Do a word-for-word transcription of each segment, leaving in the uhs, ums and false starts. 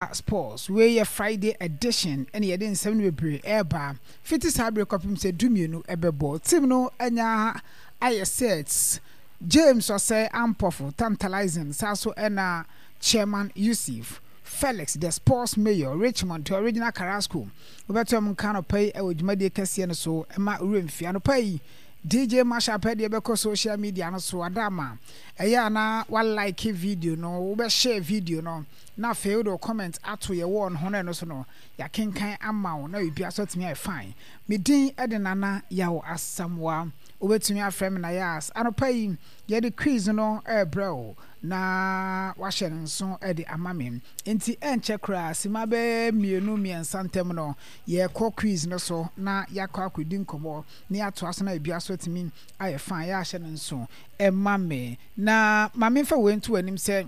Sports. Wei yɛ Friday edition ɛna yɛde nsɛm no bebree ɛreba. Fiti saa bere kɔpem sɛ dumienu ɛbɛbɔ. Team no anya ayɛ set. James Ɔsɛe Ampɔfo Tantalizing saa so ɛna Chairman Yusuf Felix, the sports mayor, Richmond, the original Carrasco. Wobɛtɔ mu nka anɔpa yi ɛwɔ dwumadie kɛseɛ no so ɛma owura mfie. Anɔpa yi D J Mashup deɛ bɛkɔ social media no so adama ɛyɛ ana wa like video no, wobɛshare video no na afei wode comment ato yɛ wall no ho no, ɛno so no yɛakenkan ama wo na biribiara so atumi ayɛ fine. Me din ɛde Nana Yaw Asamoa, wobɛtumi afrɛ me Nayas. Anɔpa yi yɛde quiz no ɛrebrɛ wo na wahyɛ no nso ɛde ama me, nti ɛnkyɛ koraa sima bɛyɛ mmienu mmiɛnsa ntam no yɛkɔ quiz no so na yɛakɔ akɔdi nkɔmmɔ na yɛatoa so na biribiara so atumi ayɛ fine. Yɛahyɛ no nso ɛma me na ma memfa wei nto anim sɛ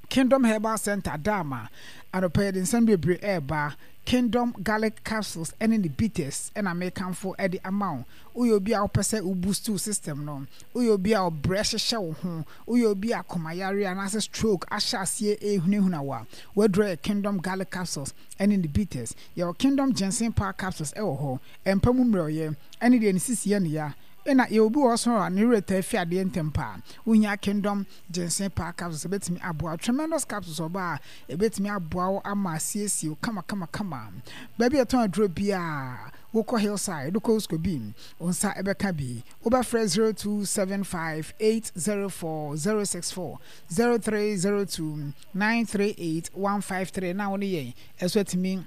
Kingdom Herbal Center dama anɔpa yɛde nsɛm bebree ɛreba. Kingdom Garlic Capsules ɛne ne bitters ɛna mekamfo ɛde ama wo. Woyɛ obi a wopɛ sɛ wo boost wo system no, woyɛ obi a ɔbrɛ hyehyɛ wo ho, woyɛ obi a komayare anaasɛ stroke ahyɛ aseɛ ɛhunahuna wo a, waduro yɛ Kingdom Garlic Capsules ɛne ne bitters. Yɛwɔ Kingdom Ginseng Power Capsules ɛwɔ hɔ, ɛmpa mu mmerɛwyɛ ɛne deɛ ne sisi yɛ ne ya, ɛna yɛwɔ obi wɔ hɔ so a ne werɛ taa fi adeɛ ntɛm paa, wohia Kingdom Ginseng Power Capsules, ɛbɛtumi aboa. Tremendous Capsules ɔba a ɛbɛtumi aboa wo ama asiesie wo kama kama kama. Baabi a ɛtɔn aduro biara, wokɔ Hillside, wokɔ Uskobi, wo nsa ɛbɛka bi. Wobɛfrɛ zero two seven five eight zero four zero six four, zero three zero two nine three eight one five three na wo ne yɛn ɛso atumi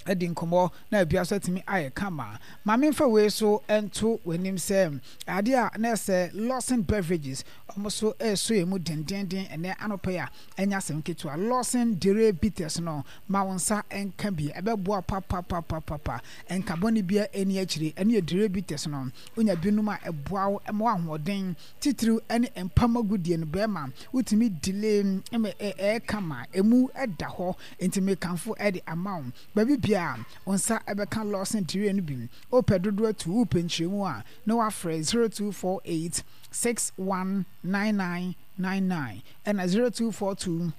adi nkɔmmɔ na ebia so atumi ayɛ kama. Maame mfa wei so nto w'anim sɛ adeɛ a na ɛsɛ Lawson Beverages, ɔmo so ɛso yɛ mu dendenden ɛnɛ anɔpɛ yi a ɛnyɛ asɛm ketewa. Lawson Dere Bitters no, ma wo nsa nka bi, ɛbɛboa papapapapapa. Nka bɔne bia ɛni akyire. Ɛne yɛ Dere Bitters no, wonya binom a ɛboa wo ma wo ahoɔden titiriw ɛne mpam agudie no bɛrima wotumi delay ma ɛyɛ kama, emu ɛda hɔ. Nti mekamfo ɛde ama wo, baabi bia wo nsa ɛbɛka Lawson Dere no bi. Wopɛ dodoɔ atu, wopɛ nkyerɛmu a, na wafrɛ zero two four eight six one nine nine nine nine ɛna zero two four two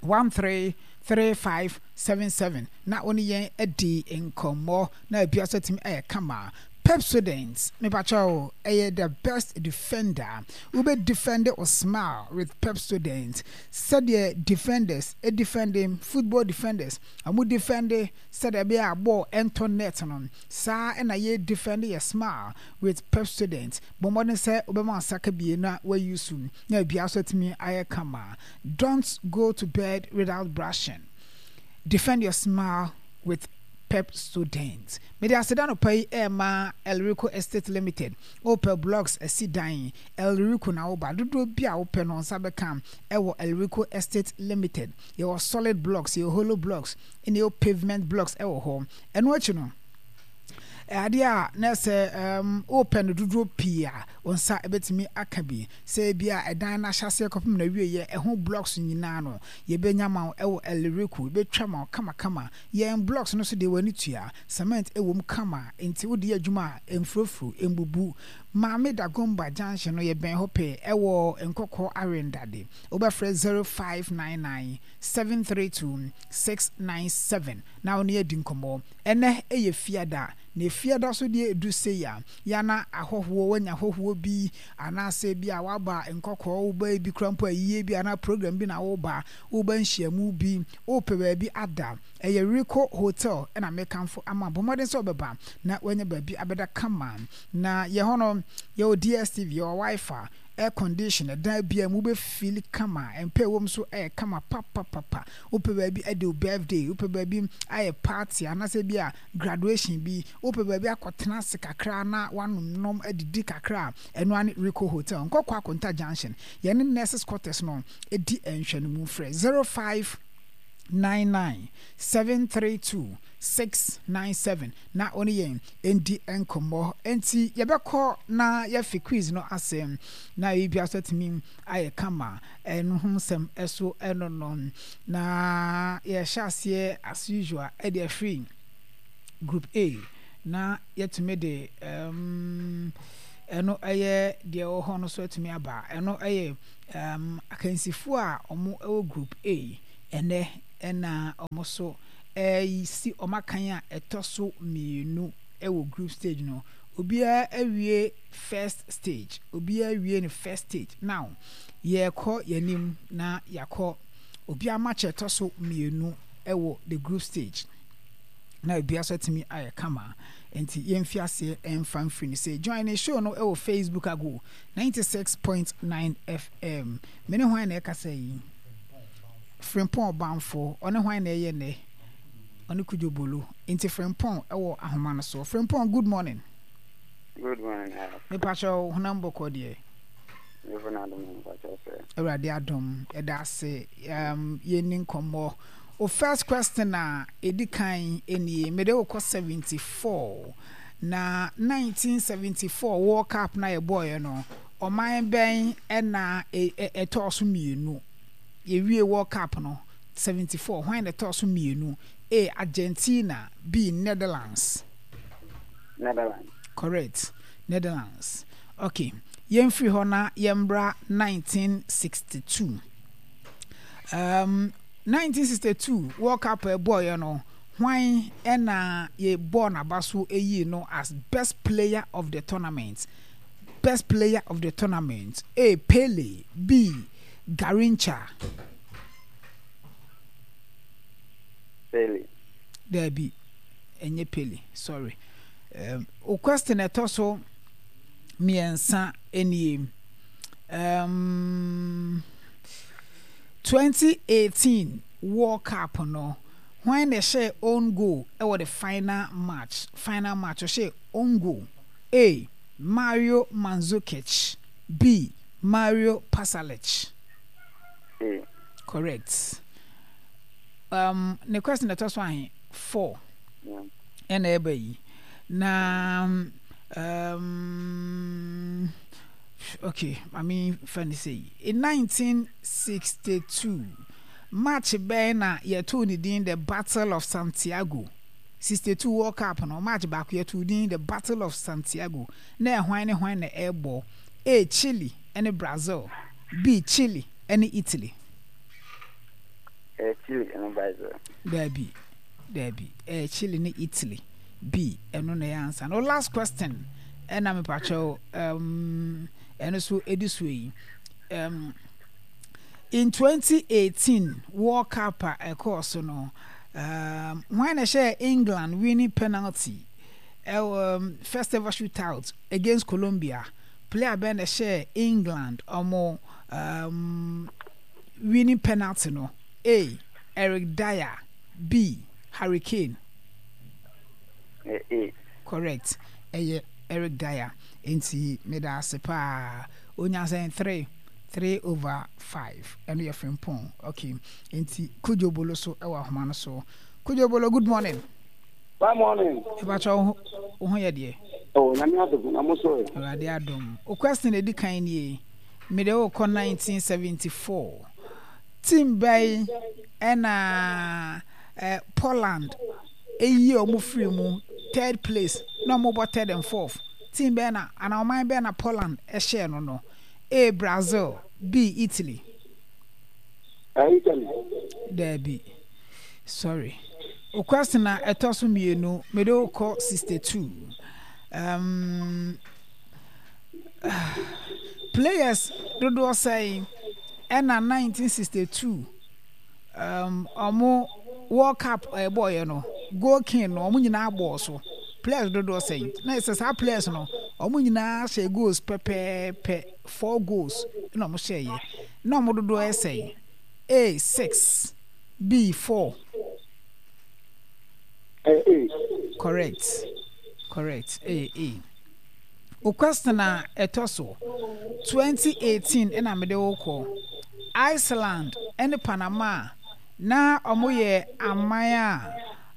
one three three five seven seven na wo ne yɛn adi nkɔmmɔ na ebia so atumi ɛyɛ kama. Pepsodent, mepakyɛw, ɛyɛ the best defender. Wobɛ defend wo smile with Pepsodent. Sɛdeɛ defenders defending, football defenders ɔmo defend sɛdeɛ ɛbɛyɛ a ball ɛntɔ net no, saa ɛna yɛ defend yɛ smile with Pepsodent. Bɔ mmɔden sɛ wobɛma nsaka bie na wayi so na ebia so atumi ayɛ kama. Don't go to bed without brushing. Defend your smile with Pepsodent. Mede aseda no pa yi ɛma Elrico Estate Limited. Wopɛ blocks asi dan, Elrico na woba. Dodoɔ bi a wopɛ no nsa bɛka ɛwɔ Elrico Estate Limited. Yɛwɔ solid blocks, yɛwɔ hollow blocks, ɛna yɛwɔ pavement blocks ɛwɔ hɔ. Ɛno akyi no, adeɛ a na sɛ um, wopɛ no dodoɔ pii a, wo nsa bɛtumi aka bi. Sɛ bi a ɛdan no ahyɛseɛ kɔpem na wieɛ, ɛho blocks nyinaa no yɛbɛnya ma wo ɛwɔ Elrico. Yɛbɛtwa ma wo kamakama. Yɛn blocks no so deɛ, w'ani tua cement ɛwɔ mu kama, nti wode yɛ adwuma a ɛmfurofuro, ɛmbubu. Maame Dagomba Junction no, yɛbɛn hɔ pɛ ɛwɔ Nkɔkɔ Arendade. Wobɛfrɛ zero five nine nine seven three two six nine seven na wo ne adi nkɔmmɔ. Ɛnɛ ɛyɛ Fiada na Fiada so deɛ ɛdu sei a yana ahɔhoɔ, wanya ahɔhoɔ bi anaasɛ bi a waba Nkɔkɔɔ, woba bi kora mpo ayie bi anaa program bi na woba, woba nhyiamu bi, wopɛ baabi ada, ɛyɛ Rico Hotel ɛna mekamfo ama. Bɔ mmɔden sɛ wobɛba na wanya baabi abɛda kama. Na yɛ hɔ no yɛwɔ D S T V, yɛwɔ WiFi, air condition, ɛdan bia mu wobɛfeel kama, mpɛ ɛwɔ mu so ɛyɛ kama papapapa. Wopɛ baabi adi wo birthday, wopɛ baabi ayɛ party anaasɛ bi a graduation bi, wopɛ baabi akɔtena ase kakra na wanom nom adidi kakra a, ɛno ane Rico Hotel, Nkɔkɔ Akonta Junction, yɛne Nurses Quarters no ɛdi nhwɛ no mu. Frɛ zero five nine nine seven three two six nine seven na wo ne yɛn ndi nkɔmmɔ. Nti yɛbɛkɔ na yɛafi quiz no ase na biribiara so atumi ayɛ kama. Ɛno ho nsɛm ɛso ɛno no na yɛhyɛ aseɛ as usual ɛde afiri Group A na yɛtumi de um, ɛno ɛyɛ deɛ ɛwɔ hɔ no so atumi aba. Ɛno ɛyɛ um, akansifoɔ a wɔn ɛwɔ Group A ɛnɛ. Ɛna wɔn nso resi wɔn akan a ɛtɔ so mmienu wɔ group stage no. Obiara awie first stage. Obiara awie ne first stage. Now, yɛrekɔ yɛn anim na yɛakɔ obiara match a ɛtɔ so mmienu wɔ the group stage. Na obiara nso atumi ayɛ kama. Nti yɛmfi aseɛ mfa mfiri no sɛ join ne show no wɔ Facebook ago ninety-six point nine F M. Me ne hwan na ɛkasa yi? Frimpɔn Ɔbamfo. Ɔne hwan na ɛyɛ nnɛ? Ɔne Kudwo Bolo. Nti Frimpɔn wɔ ahoma no so. Frimpɔn, good morning. Good morning. Mepakyɛw, honam bɔkɔ deɛ? Mefo na adom, mepakyɛw sɛ. Awurade adom, ɛda ase. um, yɛnni nkɔmmɔ. O, first question a ɛdi kan nie. Mede wokɔ seventy-four, na nineteen seventy-four World Cup na yɛbɔɔyɛ no, ɔman bɛn ɛna ɛtɔɔ so mmienu? Yɛwie World Cup no seventy-four, hwan na ɛtɔɔ so mmienu? A, Argentina. B, Netherlands. Netherlands. Correct, Netherlands. Okay, yɛmfiri hɔ na yɛmbra nineteen sixty-two. um, nineteen sixty-two World Cup ɛbɔɔyɛ no, hwan ɛna yɛbɔɔ n'aba so ɛyii no as best player of the tournament? Best player of the tournament: A, Pele. B, Garrincha. Pele. Dabi, ɛnyɛ Pele, sorry. um, o question ɛtɔ so mmiɛnsa nie. um, twenty eighteen World Cup no, hwan na ɛhyɛ own goal ɛwɔ the final match? Final match, ɔhyɛ own goal. A, Mario Mandzukic. B, Mario Pasalic. A. Correct. um, ne question ɛtɔ so ahe? Four. Yeah. Ɛna ɛba yi na um, okay, maame fa ne sɛ yi, in nineteen sixty-two, match bɛn na yɛtoo ne din the Battle of Santiago? sixty-two World Cup no, match baako yɛtoo din the Battle of Santiago, na ɛhwan ne hwan na ɛrebɔ? A, Chile ne Brazil. B, Chile ne Italy. Eh, Chile ne Brazil. Daabi, daabi, ɛyɛ Chile ne Italy. B, ɛno na ɛyɛ ansa no. Last question ɛna mepakyɛw, um, ɛno so ɛdi so yi. um, in twenty eighteen World Cup a ɛkɔɔ so no, um, hwan na ɛhyɛ England winning penalty ɛwɔ um, first ever shootout against Colombia? Player bɛn na ɛhyɛ England ɔmo um, winning penalty no? A, Eric Dier. B, Harry Kane. Eh, A. Correct, ɛyɛ Eric Dier. Nti meda ase paa. Onya sɛn? Three three over five. Ɛno yɛ Frimpɔn. Okay, nti Kudwo Bolo so ɛwɔ ahoma no so. Kudwo Bolo, good morning. Good morning. Ìbàkyɛ, wo ho wo ho yɛ deɛ? Oh, Nyame adom, na mo so ɛ? Awurade adom. O, question edi kan nie. Mede wokɔ nineteen seventy-four. Team bɛn ɛna eh, Poland eyi a wɔn firi mu third place na wɔn bɔ third and fourth? Team bɛn na ana ɔman bɛn na Poland ɛhyɛɛ no no? A, Brazil. B, Italy. Eh, Italy. Daabi, sorry. O, question na ɛtɔ so mmienu. Mede wokɔ sixty-two. um, players dodoɔ sɛn ɛna nineteen sixty-two um, ɔmo World Cup ɛbɔɔyɛ no, goal king no, ɔmo nyinaa bɔɔ so? Players dodoɔ sɛn na ɛsɛ saa players no ɔmo nyinaa hyɛ goals pɛpɛɛpɛ, four goals na ɔmo hyɛɛyɛ, na ɔmo dodoɔ yɛ sɛn? A, six. B, four. Eh, A. Correct, correct, ɛyɛ A. O, question a ɛtɔ so twenty eighteen ɛna mede wo kɔ. Iceland ɛne Panama na ɔmo yɛ aman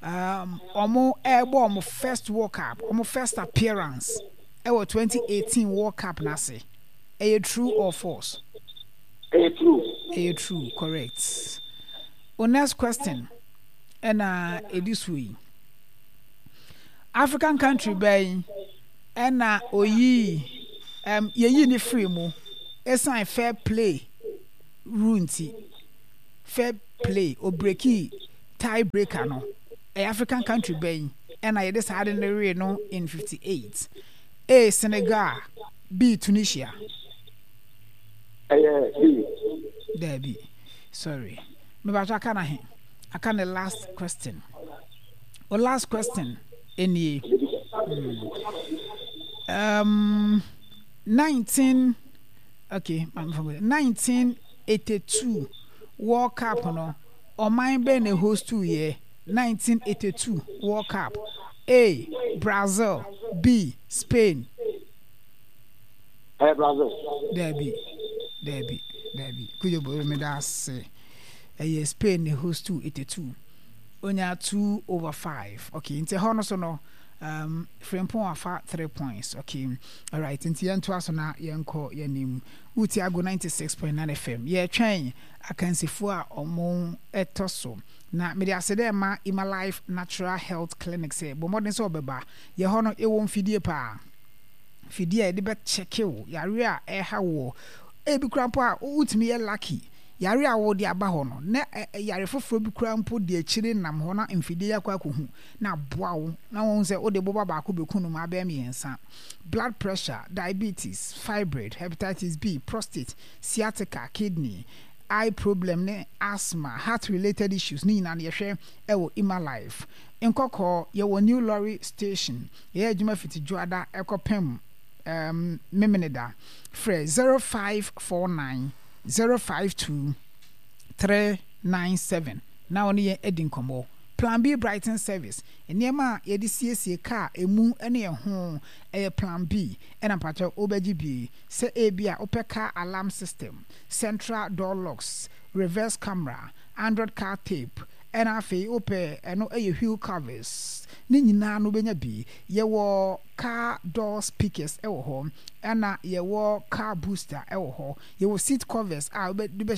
a um, ɔmo ɛrebɔ ɔmo first World Cup, ɔmo first appearance ɛwɔ twenty eighteen World Cup n'ase. Ɛyɛ true or false? Ɛyɛ true. Ɛyɛ true, correct. O, next question ɛna ɛdi so yi. African country bɛn ɛna oyii um, yɛyii ne firi mu ɛsan fair play rule nti? Fair play ɔbreaki tie breaker no ɛyɛ African country bɛn ɛna yɛde saa ade no wee no in fifty eight A Senegal B Tunisia. Ɛyɛ B. Daabi sorry mebatɔ aka na he aka ne last question o last question nie mm. um, nineteen okay nineteen eighty two World Cup no ɔman bɛn na host yɛ nineteen eighty two World Cup A Brazil B Spain. Ɛyɛ Brazil. Daabi daabi daabi kujo boro mi da ase ɛyɛ Spain na host eighty two onya two over five okay nti ɛhɔ no so no um, Frimpong afa three points okay alright nti yɛntoa so na yɛnkɔ yɛnim wuti ago ninety six point nine FM yɛtwɛn akansifoɔ a ɔmo ɛtɔ so na mede ase dɛ ma Ima Life Natural Health Clinic sɛ bɔ mmɔden sɛ ɔbɛba yɛ hɔ no ɛwɔ mfidie paa fidie a yɛde bɛkyɛke wo yare a ɛha wɔ ebi kura mpo a wotumi yɛ lucky yare a wɔde aba hɔ no na yare foforɔ bi kura mpo de akyire nam hɔ na mfidie yɛ akɔ akɔhu na aboa wo na wɔn sɛ wode boba baako bɛku no mu abɛɛ mmiɛnsa blood pressure diabetes fibroid hepatitis b prostate sciatica kidney eye problem ne asthma heart related issues ne nyinaa no yɛhwɛ ɛwɔ Ima Life nkɔkɔɔ yɛwɔ new lorry station yɛyɛ adwuma fiti dwoada ɛkɔpem um, memeneda frɛ zero five four nine zero five two three nine seven na wɔne yɛn adi nkɔmmɔ plan b brighton service nneɛma a yɛde siesie kaa emu ne ɛho ɛyɛ plan b ɛna mpakyɛw wobɛgye bi sɛ ebi a wopɛ car alarm system central door locks reverse camera android car tape ɛna afei wopɛ ɛno ɛyɛ wheel covers ne nyinaa no wobɛnya bi yɛwɔ car door speakers ɛwɔ hɔ ɛna yɛwɔ car booster ɛwɔ hɔ yɛwɔ seat covers a wobɛde bɛhyɛ